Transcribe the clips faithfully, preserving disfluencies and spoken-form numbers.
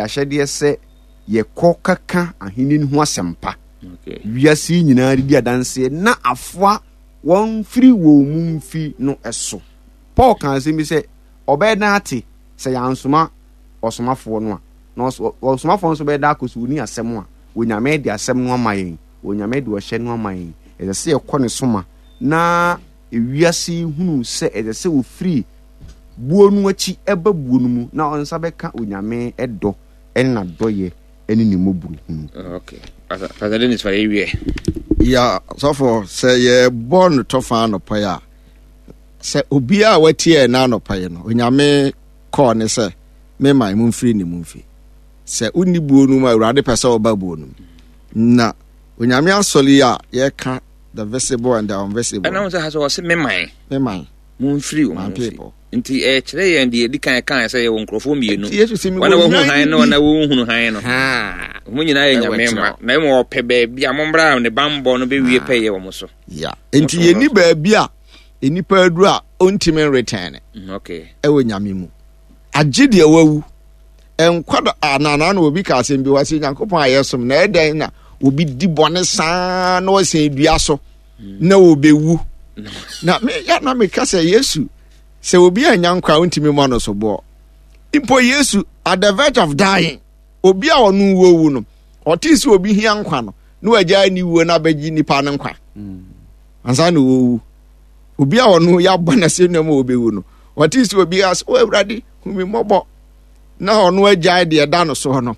Ahyɛdeɛ sɛ yɛkɔ kaka ahenni no ho asɛmpa wiase yi nyinaa de di adanseɛ na afoa wɔn firi wɔn mu mfi no so. Paul ka asɛm bi sɛ ɔbɛyɛ dan ate sɛ yɛansoma ɔsomafoɔ no a, na ɔsomafoɔ nso bɛyɛ dan akɔ so ɔni asɛm a Onyame de asɛm no ama yɛn, Onyame de ɔhyɛ no ama yɛn. Ɛsɛ sɛ yɛkɔ ne soma na ewiase yi hunu sɛ ɛsɛ sɛ wɔfiri buo no akyi ɛba buo no mu na ɔnsa bɛka Onyame ɛdɔ ɛne n'adɔyɛ ɛne ne mmɔborɔhunu. Okay. Pastor Dennis fa yɛwie. Ya sɔfo, sɛ yɛbɔ no tɔfa anɔpa yi a, sɛ obiara a watie yɛn anɔpa yi no, Onyame kɔɔ ne sɛ mema mu mfiri ne mu mfi. Sɛ wonni buo no mu a, Awurade pɛ sɛ ɔba buo no mu. Na Onyame asɔre yi a yɛka the visible and the invisible. Ɛna wo sɛ ha sɛ ɔse meman. Meman. Momfiri wɔn My mu mfi. people. Nti ɛkyerɛ yɛn deɛ ɛdi kan kan sɛ yɛwɔ nkurɔfoɔ mmienu. Nti Yesu sɛ Wɔn a mewɔ wɔhu hann nnwan ne wɔn bi. a wɔnhunu hann no. Ha. Wɔn nyinaa yɛ Ɛwɔ Nyame akyerɛ mma. hɔ. Na mmom ɔpɛ baabi a mommra a ne bammɔ no bɛwie pɛyɛ wɔn so. Ya. Nti yɛni baabi a nnipa aduru a ɔntumi nretɛn Mm, Okay. ɛwɔ Nyame mu. Agye deɛ wawu. Nkwa da anana na obi ka asɛm bi wɔ sɛ Nyankopɔn a yɛsom na ɛdɛn na obi di bɔne saa na ɔsɛn dua so na obewu. Na me ya na meka sɛ Yesu sɛ obi anya nkwa a ontumi mmɔ no so boɔ. Mpo Yesu at the verge of dying, obi a ɔno wuo wu no, ɔtee sɛ obi hia nkwa no na wagyae ne wuo na abɛgye nipa no nkwa. Ansa na owu. Obi a ɔno yɛabɔ no asɛnnua mu a obewu no, ɔtee sɛ obi ase, o Awurade, hu me mmɔbɔ. Na ɔno agyae deɛ ɛda no soɔ no,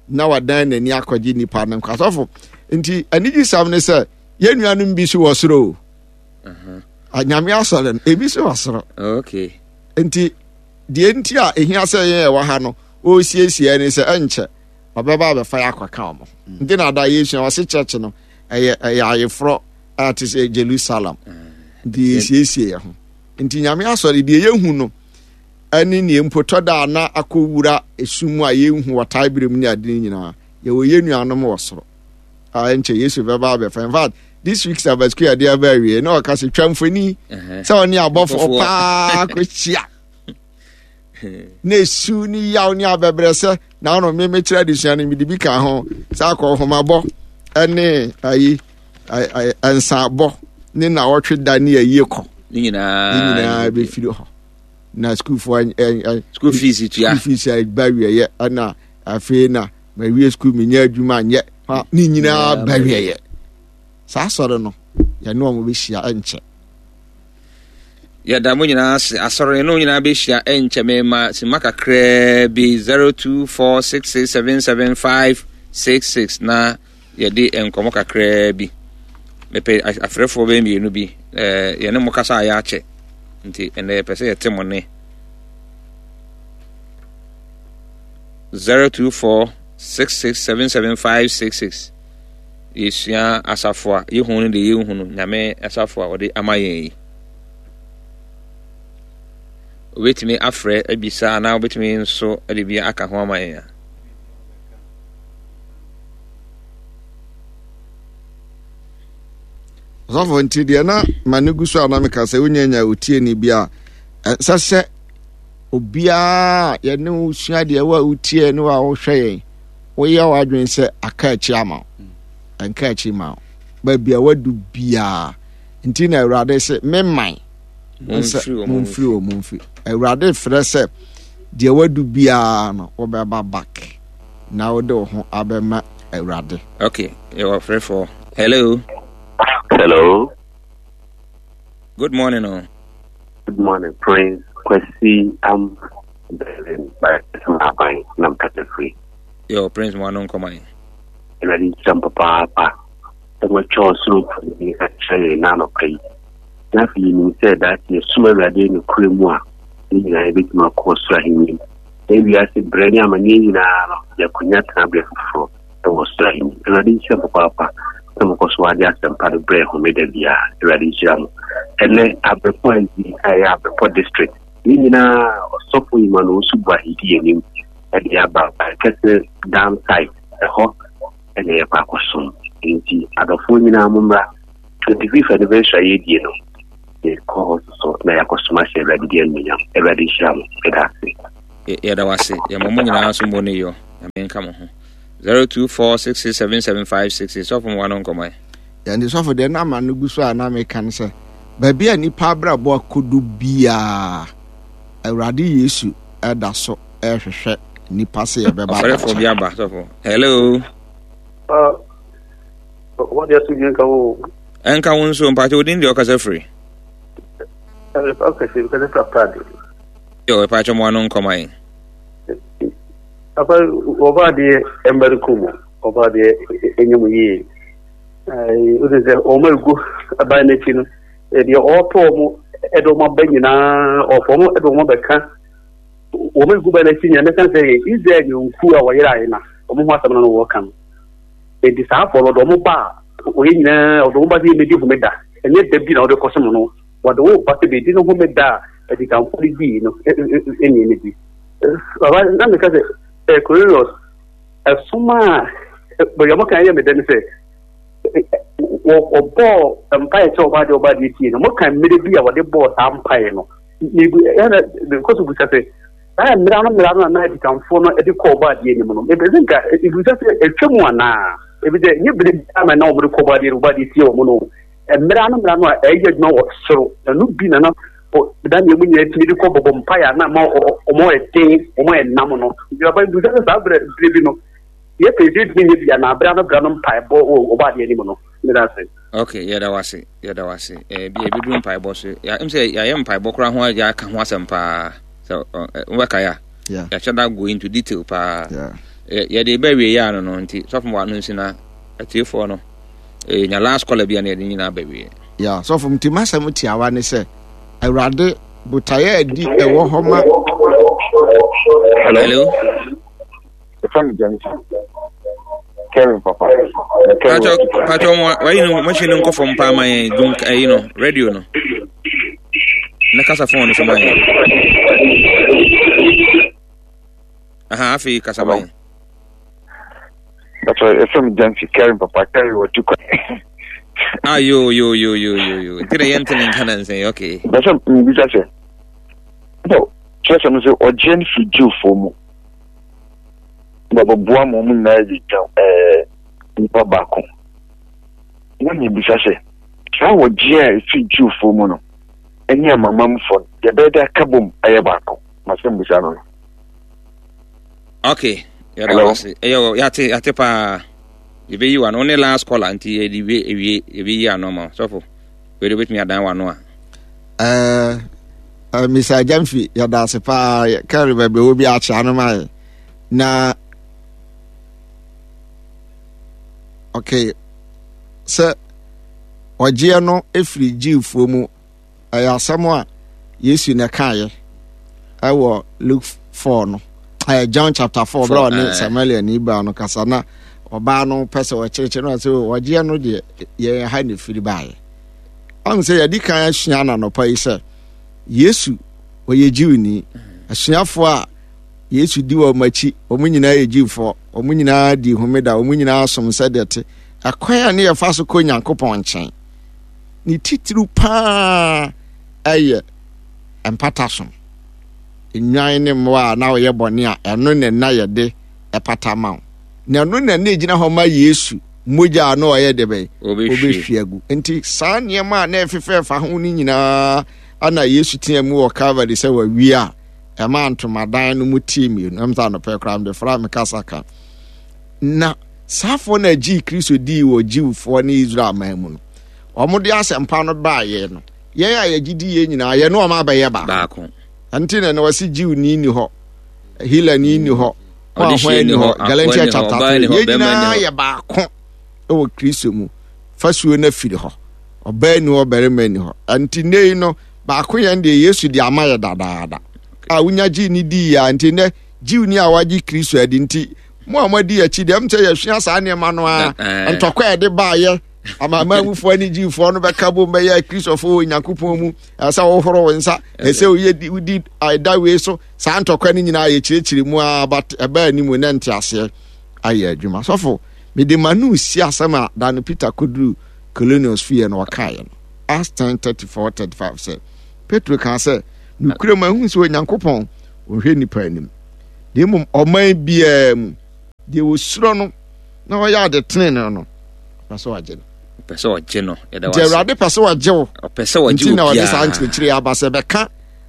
na wadan n'ani akɔgye nipa no nkwa. Sɔfo, nti anigyesɛm ne sɛ yɛn nuanom bi so wɔ soro o. Anyame asɔre no, ebi so wɔ soro. Okay. Nti deɛ nti a ehia sɛ yɛn ɛwɔ ha no, ɔresiesie ne sɛ ɛnkyɛ ɔbɛba abɛfa yɛ akɔka wɔn. Nti na ada yɛsua ɔse church no ɛyɛ ɛyɛ ayeforɔ a te sɛ Jerusalem. Nti yɛsiesie yɛn ho. Nti Nyame asɔre deɛ yɛhu no ɛne nea mpo tɔ da a na akɔwura esum mu a yɛnhu wɔ tae bere mu ne ade no nyinaa. Yɛwɔ yɛn nuanom wɔ soro a ɛnkyɛ Yesu bɛba abɛfa. In fact, this week Sabbath school yɛde aba awie na ɔka sɛ twa mfoni sɛ ɔne abɔfoɔ paa kɔhyia na esu ne yaw ne abɛbrɛ sɛ na ɔno me mekyerɛ adesua no mede bi ka ho sɛ akɔ nhomabɔ ne ayi nsabɔ ne na ɔtwe da ne ayie kɔ Ne nyinaa. Ne nyinaa bɛfiri hɔ na sukuufoɔ School fees tua. School fees ba wieɛ ɛna afei na mawie sukuu menyɛ adwuma nyɛ ha ne nyinaa ba wieɛ. Saa asɔre no yɛne wɔn bɛhyia ɛnkyɛ. Yɛda mo nyinaa ase. Asɔre no nyinaa bɛhyia ɛnkyɛ. Mema sima kakraa bi zero two four six six seven seven five six six na yɛde nkɔmmɔ kakraa bi. Mepɛ afrɛfoɔ bɛyɛ mmienu bi. ɛɛ yɛne mo kasa a yɛakyɛ nti ɛnɛ yɛpɛ sɛ yɛte mo ne zero two four six six seven seven five six six. Yɛsua asafo a yɛhu no deɛ yɛnhu no, Nyame asafo a ɔde ama yɛn yi. Wobɛtumi afrɛ abisa anaa wobɛtumi nso de bi aka ho ama yɛn a. Ɔsɔfo, nti deɛ na ma no gu so a na meka sɛ wonyanya otieni bi a ɛnsɛ sɛ obiara yɛne wo sua deɛ wo a wotie ne wo a wohwɛ yɛn woyɛ w'adwene sɛ aka akyi ama wo, ɛnka akyi ma wo baabi a wadu biara. Nti na Awurade sɛ me man momfiri wɔ momfiri. Awurade frɛ sɛ deɛ wadu biara no wobɛba back na wode wo ho abɛma Awurade. Okay, yɛwɔ frɛfoɔ. Hello. Hello. Good morning. Oh. Good morning, Prince Kwesi. I'm Berlin by Aban nam kasa free. Yo, Prince mo ano nkɔman. Awurade nhyira m papaapa sɛ wɔatwa ɔsoro mfoni akyerɛ yɛn na anɔpa yi. Na afei yɛnim sɛ daakye yɛsom Awurade nokorɛ mu a, ne nyinaa yɛbɛtumi akɔ ɔsoro ahenni mu. Na wiase berɛ ne amanneɛ nyinaa no, yɛakɔnya tenaberɛ foforɔ ɛwɔ ɔsoro ahenni. Awurade nhyira m papaapa sɛ mokɔ so ade asɛmpa no berɛ homeda biara. Awurade nhyira mo. Ɛnɛ Abrepɔ S D a ɛyɛ Abrepɔ District ne nyinaa ɔsɔfo Emmanuel Osu Boahidi anim ɛde aba kɛsɛ dam site ɛhɔ ɛna yɛkɔ akɔsom. Nti adɔfoɔ nyinaa mo mmra. twenty-fifth anniversary a yɛdie no, yɛkɔ hɔ soso na yɛakɔsom ahyɛ Awurade di anuonyam. Awurade nhyira mo. Ɛda ase. Yɛda wase. Yɛma mo nyinaa so mmɔ ne yɔ. Nyame nka mo ho. zero two four six six seven seven five six six sɔfo mo wa no nkɔmɔ ɛ. Yɛn sɔfo deɛ na ama no gu so a na meka no sɛ baabi a nipa abrabɔ akodu biara Awurade Yesu ɛda so ɛhwehwɛ nipa sɛ yɛbɛba. Ɔfrɛfoɔ bi aba sɔfo. Hello. Ah, wɔn deɛ so nka wo. Ɛnka wo nso mpakyɛ odin deɛ ɔkasa firi. Ɔkasa firi kasa firi aprade. Yo, mpakyɛ mo ano nkɔmɔ yi. Papa ɔbaa deɛ ɛmbɛre kɔ mu ɔbaa deɛ ɛnyɛ mu yie. Ɛɛ o de sɛ wɔn egu aban n'akyi no deɛ ɔɔtɔ wɔn ɛde wɔn aba nyinaa ɔfɔ wɔn ɛde wɔn abɛka wɔn egu ban n'akyi nyinaa mɛka sɛ Israel nyɔnku a wɔyere ayɛ na wɔn ho asɛm no wɔka no. Edi saa afɔ no ɔde wɔn ba a wɔyɛ nyinaa ɔde wɔn ba sɛ yɛmɛdi homeda ɛnyɛ da bi na ɔde kɔsom no wɔde wɔn ba sɛ bɛdi no homeda a adikanfo no dii no ɛne ɛne bi. Baba na meka sɛ ɛ Cornelius ɛsom a bɛyɛ ɔmo kan yɛ me dɛ ne sɛ wɔbɔɔ mpaeɛ sɛ ɔbaa deɛ ɔbaa deɛ tie no mo kan mmerɛ bi a wɔde bɔɔ saa mpaeɛ no mebu ɛna mekɔ so busa sɛ saa mmerɛ no mmerɛ no a na adikanfoɔ no de kɔ ɔbaa deɛ anim no ebɛsɛ nka ebusa sɛ atwa mu anaa ebi sɛ nye bere ama na wɔde kɔ ɔbaa deɛ ɔbaa deɛ tie wɔn no mmerɛ no mmerɛ no a ɛyɛ adwuma wɔ soro ɛno bi na na da nea mu nyinaa tumi de kɔ bɔbɔ mpaeɛ a na ma wɔn yɛ den wɔn yɛ nam no aba ebusa sɛ saa berɛ berɛ bi no yɛ pɛ sɛ etumi nyɛ bi anaa berɛ no berɛ no mpaebɔ wɔ ɔbaa deɛ anim no ne da ase. Okay, yɛda wase yɛda wase ɛɛ bi ebi duru mpaebɔ so ya m sɛ yɛayɛ mpaebɔ koraa ho yɛaka ho asɛm paa sɛ wobɛka yɛ a yɛahyɛ da go into detail paa yɛde bɛ wie yɛ ano no nti sɔfo mu ano nsi na atiefoɔ no nya last caller bi a na yɛde nyinaa bɛ wie. Ya sɔfo nti masɛm tiawa ne sɛ Awurade botaeɛ adi ɛwɔ hɔ ma. Hello. Ɛfɛ mi James. Kevin papa. Pacho pacho mo wayi no machine no nkɔ fam paa ma yɛn dum ayi no radio no. Na kasa phone no so ma yɛn. Aha afei kasa ma yɛn. Pacho ɛfɛ mi James Kevin papa Kevin wɔ tu kwan. Ah yo yo yo yo yo yo. Nti na yɛn ntene nka na nsɛn okay. Bɛsɛ mbisa sɛ. Bɔ kyerɛ sɛ no sɛ ɔgye no firi Jewfoɔ mu. Bɛbɛboa ma wɔn nyinaa yɛ dwa ɛɛ nipa baako. Na mebisa sɛ, saa wɔgye a ɛfiri Jewfoɔ mu no ne amamamfoɔ no, yɛbɛyɛ dɛ aka bom ayɛ baako? Masɛm bisa no no. Okay, yɛda wo ase. Ɛyɛ yɛate yɛate paa. Yɛbɛyi w'ano. Wo ne last caller nti yɛde wie ewie yɛbɛyi ano ma sɔfo. Wei de wobɛtumi adan w'ano a. Ɛɛ uh, Mister Jamfi yɛda ase paa kɛre baabi wɔ bi akyɛ ano ma yɛ. Na okay sɛ ɔgyeɛ no efiri Jewfoɔ mu ɛyɛ asɛm a Yesu na ɛkaeɛ ɛwɔ Luke four no ɛyɛ John chapter four bere a ɔne Samaria ni baa no kasa na ɔbaa no pɛ sɛ ɔkyerɛkyerɛ no sɛ ɔgyeɛ no deɛ yɛn ha na efiri baeɛ ɔn sɛ yɛde kan asua ananɔpa yi sɛ Yesu ɔyɛ Jewni asuafoɔ a Yesu di wɔn akyi, wɔn nyinaa yɛ Jewfoɔ, wɔn nyinaa di homeda, wɔn nyinaa som sɛdeɛ te. Ɛkwan a ne yɛfa so kɔ Nyankopɔn nkyɛn, ne titiriw paa ɛyɛ mpata som. Nnwan ne mmoa a na wɔyɛ bɔne a ɛno na na yɛde ɛpata ma wo. Na ɛno na na egyina hɔ ma Yesu mogya a na ɔyɛ de bɛn ɔbɛhwie agu. Nti saa nneɛma a na ɛfefɛɛfa ho no nyinaa ana Yesu teɛ mu wɔ Calvary sɛ wawie a ɛma ntomadan no mu tee mmienu. Ɛm sɛ anɔpɛ koraa mede fra me kasa ka. Na saafoɔ na gyee Kristo dii wɔ Jewfoɔ ne Israel man mu no, wɔn de asɛmpa no baayɛ no, yɛn a yɛgye di yɛn nyinaa yɛne wɔn abɛyɛ baako. Ɛnti na na wɔsi Jewni ni hɔ, Helani ni hɔ, hwan ni hɔ, Galatians chapter three, yɛn nyinaa yɛ baako wɔ Kristo mu. Fasuo no afiri hɔ, ɔbaa ni hɔ, barima ni hɔ. Ɛnti nnɛ yi no, baako yɛn deɛ Yesu de ama yɛ dadaada a wonya gyee ne dii a nti nnɛ Jewni a wagye Kristo adi nti mo a moadi akyi deɛ m sɛ yɛsua saa nneɛma no a ntɔkwa a ɛde baayɛ amanamanmufoɔ ne Jewfoɔ no bɛka bom bɛyɛ Kristofoɔ wɔ Nyankopɔn mu ɛsɛ wohoro wo nsa ɛsɛ woyɛ wodi ɛda wei so saa ntɔkwa no nyinaa yɛkyerɛkyerɛ mu a but ɛbaa anim ne nteaseɛ ayɛ adwuma sɔfo mede ma no si asɛm a da no Peter kɔduru Cornelius fie no ɔkaeɛ no Acts ten thirty four thirty five sɛ Petro kaa sɛ nokorɛ mu ahu sɛ Onyankopɔn ɔnhwɛ nnipa anim na mmom ɔman biara mu Deɛ wɔsuro no na ɔyɛ ade tenene no, ɔpɛ sɛ ɔgye no. Ɔpɛ sɛ ɔgye no. Yɛda Nti wase. Awurade pɛ sɛ ɔgye wo. Ɔpɛ sɛ ɔgye Nti na ɔde saa obiara. nkyerɛkyerɛ yi aba sɛ bɛka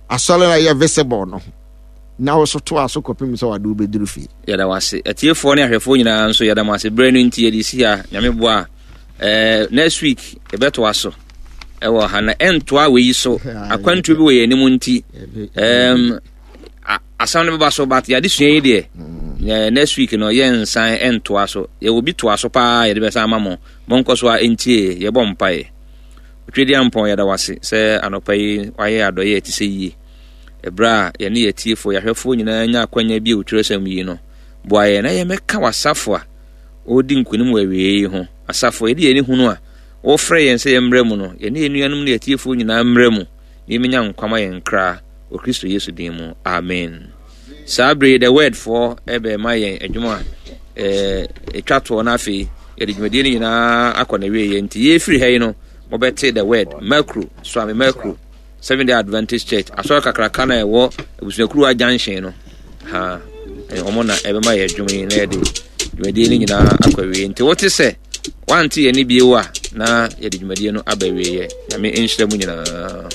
asɔre no a ɛyɛ visible no ho na wo so toa so kɔpem sɛ wɔde wobɛduru fie. Yɛda wase. Atiefoɔ ne ahwɛfoɔ nyinaa nso yɛda mo ase. Berɛ no nti yɛde si ha. Nyame boa a, eh, next week yɛbɛtoa so ɛwɔ ha na ɛntoa wei so. Akwantuo bi wɔ yɛn anim nti, um, asɛm no bɛba so, but yɛade sua yi deɛ, mm. next week no yɛnsan ɛntoa so. Yɛwɔ bi toa so paa, yɛde bɛsan ama mo. Monkɔ so a ɛntie, yɛbɔ mpaeɛ. Otwedeampɔn, yɛda wase sɛ anɔpa yi wayɛ adɔyɛ ɛte sɛ yie. Ɛberɛ a yɛne yɛtiefoɔ, yɛahwɛfoɔ nyinaa nya akwanya bi a otwerɛsɛm yi no, boa yɛn na yɛmmɛka w'asafo a ɔredi nkonim wɔ awieeɛ yi ho. Asafo a yɛde yɛn ani hunu a wɔfrɛ yɛn sɛ yɛmmrɛ mu no, yɛne yɛn nuanom ne yɛtiefoɔ nyinaa mmrɛ mu na yɛmmɛnya nkwa ma yɛn kra wɔ Kristo Yesu din mu. Amen. Saa bere yi, The Word foɔ ɛbɛma yɛn adwuma a ɛtwa toɔ no, afei yɛde dwumadie no nyinaa akɔ n'awieeɛ. Nti yɛfiri ha yi no, mobɛte The Word, Mercury, Suame Mercury, Seventh Day Adventist Church, asɔre kakraka na ɛwɔ abusuakuruwa junction no ha, wɔn na ɛbɛma yɛ adwuma yi na yɛde dwumadie no nyinaa akɔ awie. Nti wote sɛ wante yɛn ne bio a, na yɛde dwumadie no aba awieɛ. Nyame nhyira mu nyinaa.